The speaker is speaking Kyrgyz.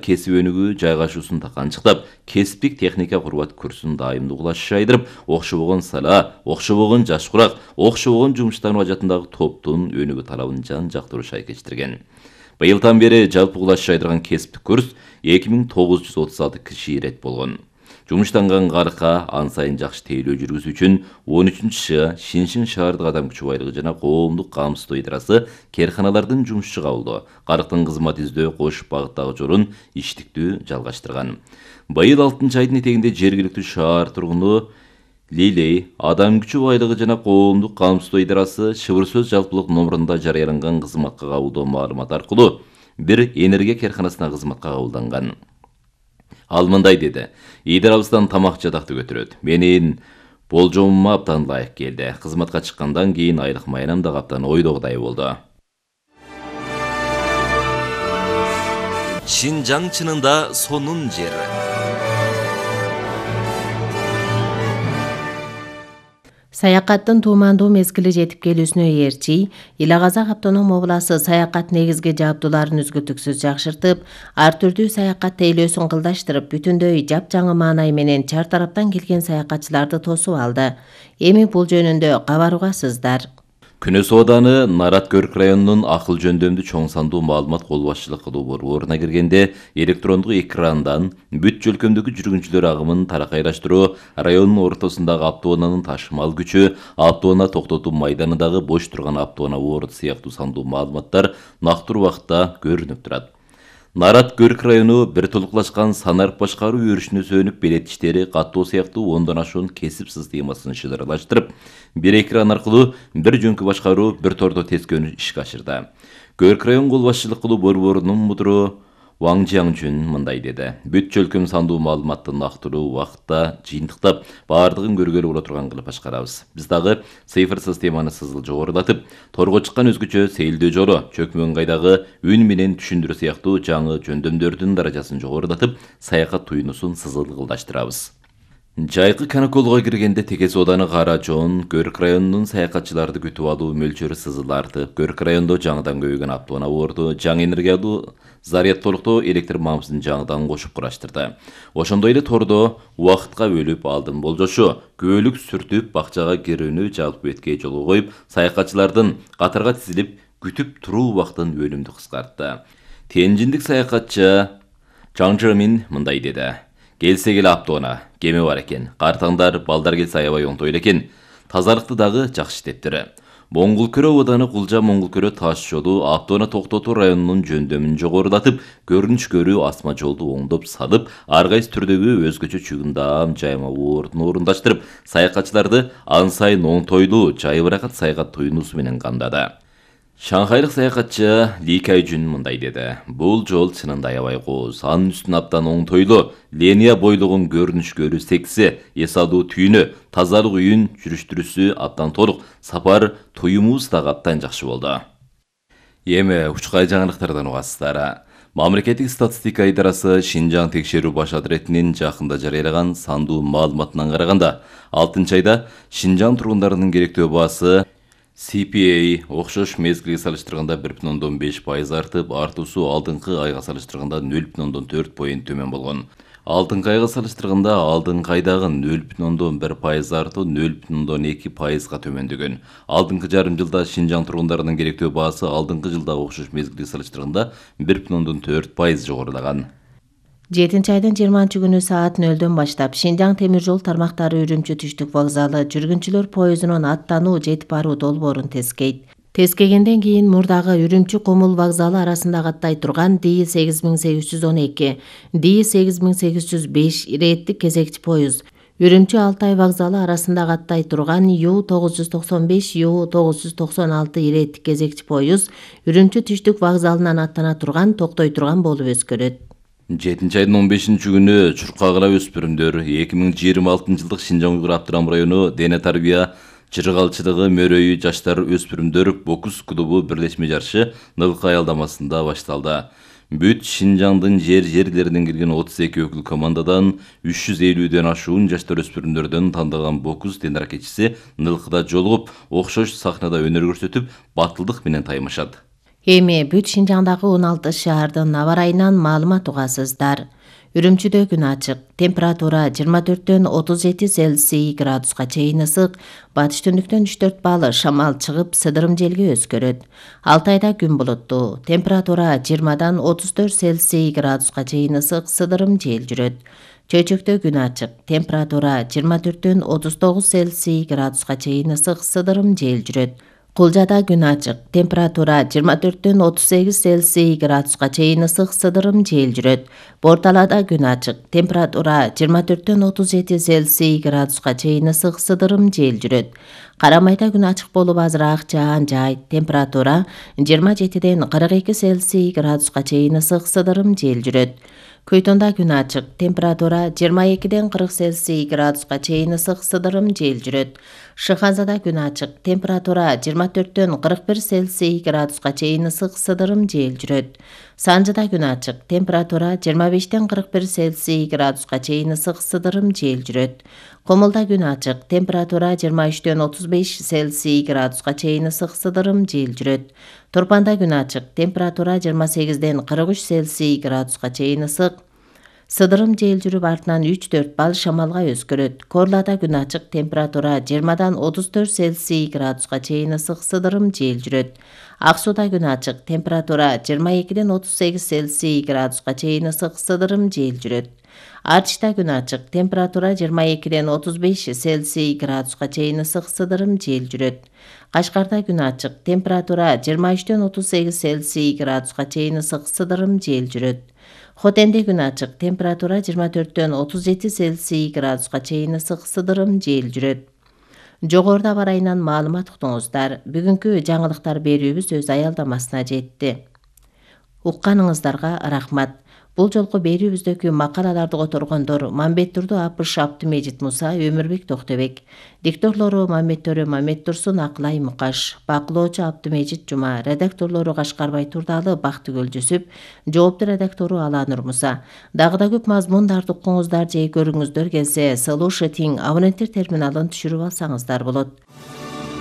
кесип өнүгүү жайгашуусун канчыктап, кесиптик техника курбат курсун дайымдуу кылаш айдырып, окшобогон сала, окшобогон жаш курак, окшобогон жумуштануу ажатындагы топтун өнүгүү талабын жан-жактуу шайкештирген. Быйылдан бери жалпы кылаш айдырган кесиптик курс 2936 киши ирет болгон. Жумуштанган карыкка ан сайын жакшы тейлөө жүргүзүү үчүн 13-Ш Шиншин шаардык адам күчү байлыгы жана коомдук камсыздоо идарасы керканалардын жумушчу кабылдоо, карыктын кызмат издөө кош багыттагы жолун иштиктүү жалгаштырган. Быйыл 6-айдын этегинде жергиликтүү шаар тургуну Лилей адам күчү байлыгы жана коомдук камсыздоо идарасы Шыбыр сөз жалпылык номурунда жарыяланган кызматка кабылдоо маалымат аркылуу бир энергия керканасына кызматка кабылданган. Ал мындай деди: "Идарабыздан тамак жадакты көтөрөт. Менин болжомума абдан ылайык келди. Кызматка чыккандан кийин айлык майрам да абдан ойдогудай болду." Шинжаң чынында сонун жер. Саякаттын туумандуу мезгили жетип келүүсүнө ээрчи, Ил Казак автоном обласы саякат негизги жабдууларын үзгүлтүксүз жакшыртып, ар түрдүү саякат тейлөөсүн кылдаштырып, бүтүндөй жапжаңы маанай менен чар тараптан келген саякатчыларды тосуп алды. Эми бул жөнүндө кабар угасыздар. Күнөс ооданы Нарат Көрк районунун акыл жөндөмдүү чоң сандуу маалымат кол башчылык кылуу борборуна киргенде электрондук экрандан бүт жөлкөмдөгү жүргүнчүлөр агымын таракайраштыруу, райондун ортосундагы автоунаанын ташымал күчү, автоунаа токтотуу майданындагы бош турган автоунаа орду сыяктуу сандуу маалыматтар нактуу убакытта көрүнүп турат. Нарат Көрк району бир толуклашкан санарып башкаруу өрүшүнө сөнүп, белет иштери, каттоо сыяктуу 10дон ашуун кесип системасын шыдырлаштырып, бир экран аркылуу бир жөнкү башкаруу, бир тордо тескөөнү ишке ашырды. Көрк район кол башчылык кылуу борборунун мудуру Ваң Жиаңжүн мындай деди: "Бүт жөлкөм сандуу маалыматты нактуу убакытта жыйынтыктап, баардыгын көргөлү боло турган кылып башкарабыз. Биз дагы цифр системаны сызыл жогорулатып, торго чыккан өзгөчө сейилдөө жолу, чөкмө ыңгайдагы үн менен түшүндүрүү сыяктуу жаңы жөндөмдөрдүн даражасын жогорулатып, саякат туюнуусун сызыл кылдаштырабыз." Жайкы каникулга киргенде Текес ооданы Кара Жоон Көрк районунун саякатчыларды күтүп алуу мөлчөрү сызыл артып, Көрк райондо жаңыдан көбөйгөн автоунаа орду, жаңы энергиялуу зарядтолуктоо электр мамысын жаңыдан кошуп кураштырды. Ошондой эле тордо убакытка бөлүп алдын болжошу, күбөлүк сүртүп, бакчага кирүүнү жалпы бетке жолго коюп, саякатчылардын катарга тизилип күтүп туруу убактын өнүмдүү кыскартты. Тенжиндик саякатчы Чаң Жымин мындай деди: "Келсе келе автоунаа, кеме бар экен. Картаңдар, балдар келсе аябай оңтой экен. Тазалыкты дагы жакшы иштептир. Моңгулкөрө ооданы Кулжа Моңгулкөрө таш жолу автоунаа токтотуу районунун жөндөмүн жогорулатып, көрүнүш көрүү асма жолду оңдоп салып, ар кайсы түрдөгү өзгөчө чыгымдам жаймалуу ордун орундаштырып, саякатчыларды ан сайын оңтойлуу, жайбыракат саякат туюнуусу менен камдады." Шанхайлык саякатчы Ли Кайжүн мындай деди: "Бул жол чынында аябай кооз, анын үстүн абдан оңтойлуу, линия бойлогон көрүнүш көрүү секси, эс алуу түйүнү, тазалык үйүн жүрүштүрүүсү абдан толук, сапар туюмубуз дагы абдан жакшы болду." Эми учкай жаңылыктардан угасыздар. Мамлекеттик статистика идарасы Шинжаң текшерүү баш адретинин жакында жарыялаган сандуу маалыматынан караганда, 6-айда Шинжаң тургундарынын керектөө баасы CPA окшош мезгилге салыштырганда 1,5% артып, артуусу алдыңкы айга салыштырганда 0,4 поинт төмөн болгон. Алдыңкы айга салыштырганда алдыңкы айдагы 0,1% артуу 0,2%га төмөндөгөн. Алдыңкы жарым жылда Шинжаң тургундарынын керектөө баасы алдыңкы жылдагы окшош мезгилге салыштырганда 1,4% жогорулаган. 7-айдын 20-күнү саат 0-дөн баштап Шинжаң темир жол тармактары Үрүмчү түштүк вокзалы жүргүнчүлөр поездунун аттануу жетип баруу долбоорун тескейт. Тескегенден кийин мурдагы Үрүмчү Комул вокзалы арасында каттай турган Ди-8812, Ди-8805 иреттик кезекчи поезд, Үрүмчү Алтай вокзалы арасында каттай турган Ю-995, Ю-996 иреттик кезекчи поезд Үрүмчү түштүк вокзалынан аттана турган, токтой турган болуп өзгөрөт. 7-айдын 15-күнү Чуркагыла өспүрүмдөр 2026 жылдык Шинжаң Уйгур Автоном району дене тарбия чыргалчылыгы мөрөйү жаштар өспүрүмдөр бокс клубу бирлешме жарышы Нылкы аялдамасында башталды. Бүт Шинжаңдын жерлеринен келген 32 өкүл командадан 350ден ашуун жаштар өспүрүмдөрдөн тандалган бокс тенаракетчиси Нылкыда жолугуп, окшош сахнада өнөр көрсөтүп, батылдык менен таймашат. Эми бүт Шинжаңдагы 16 шаардын аба ырайынан маалымат угасыздар. Үрүмчүдө күн ачык, температура 24-төн 37 Цельсий градуска чейин ысык, батыш түндүктөн 3-4 балл шамал чыгып, сыдырым желге өзгөрөт. Алтайда күн булуттуу, температура 20-дан 34 Цельсий градуска чейин ысык, сыдырым жел жүрөт. Чөйчөктө күн ачык, температура 24-төн 39 Цельсий градуска чейин ысык, сыдырым жел жүрөт. Кулжада күн ачык, температура 24-төн 38 Цельсий градуска чейин ысык, сыдырым жел жүрөт. Борталада күн ачык, температура 24-төн 37 Цельсий градуска чейин ысык, сыдырым жел жүрөт. Карамайда күн ачык болуп азыраак жаан жаайт, температура 27-ден 42 Цельсий градуска чейин ысык, сыдырым жел жүрөт. Көйтөндө күн ачык, температура 22-ден 40 Цельсий градуска чейин ысык, сыдырым жел жүрөт. Шыханзада күн ачык, температура 24-төн 41 Цельсий градуска чейин ысык, сыдырым жел жүрөт. Санжыда күн ачык, температура 25-тен 41 Цельсий градуска чейин ысык, сыдырым жел жүрөт. Комулда күн ачык, температура 23-төн 35 Цельсий градуска чейин ысык, сыдырым жел жүрөт. Турпанда күн ачык, температура 28-ден 43 Цельсий градуска чейин ысык, сыдырым жел жүрүп, артынан 3-4 балл шамалга өзгөрөт. Корлада күн ачык, температура 20-дан 34 Цельсий градуска чейин ысык, сыдырым жел жүрөт. Ак сууда күн ачык, температура 22-ден 38 Цельсий градуска чейин ысык, сыдырым жел жүрөт. Артишта күн ачык, температура 22-ден 35 Цельсий градуска чейин ысык, сыдырым жел жүрөт. Кашкарда күн ачык, температура 23-ден 38 Цельсий градуска чейин ысык, сыдырым жел жүрөт. Хотенде күн ачык, температура 24-төн 37 Цельсий градуска чейин ысык, сыдырым жел жүрөт. Жогоруда аба ырайынан маалымат уктуңуздар. Бүгүнкү жаңылыктар берүүбүз өз аялдамасына жетти. Укканыңыздарга рахмат. Бул жолку берүүбүздөгү макалаларды которгондор Мамбеттурду Апыш Абдымежит Муса, Өмүрбек Токтобек. Дикторлору Мамбеттөрү Мамет Турсун, Акылай Мукаш. Бакылоочу Абдымежит Жума. Редакторлору Кашкарбай Турдалы, Бактыгүл Жүсүп. Жоопту редактору Аланур Муса. Дагы да көп мазмундарды укуңуздар же көрүңүздөр келсе, Слушать абоненттер терминалын түшүрүп алсаңыздар болот.